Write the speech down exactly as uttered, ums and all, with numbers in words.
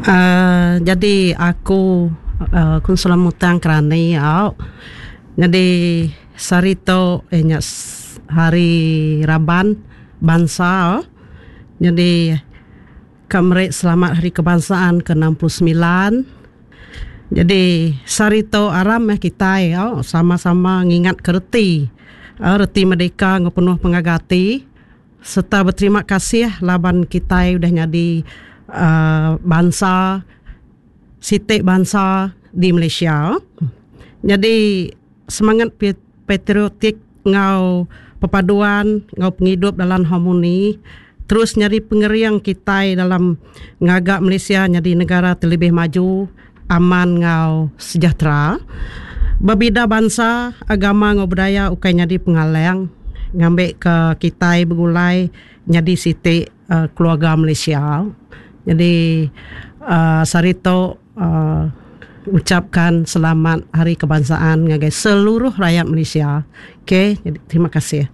Uh, jadi aku uh, Kunsilor Mutang Kerani au. Jadi sehari tu eh nya hari raban bansa. Jadi ka meri selamat Hari Kebangsaan ke enam puluh semilan. Jadi sehari tu aram meh kitai au sama-sama ngingat ke reti uh, reti merdeka enggau penuh pengaga ati serta beterima kasih laban kitai udah nyadi uh, bansa siti bansa di Malaysia. Jadi semangat patriotik enggau perpaduan enggau pengidup dalam harmoni terus nyadi pengering kitai dalam ngaga Malaysia nyadi negara terlebih maju, aman enggau sejahtera. Bebida bansa, agama enggau budaya ukai nyadi pengalang ngambil ke kitai begulai nyadi siti uh, keluarga Malaysia. Jadi uh, sehari tu uh, ucapkan selamat Hari Kebangsaan ngagai seluruh rakyat Malaysia. Okey, jadi terima kasih.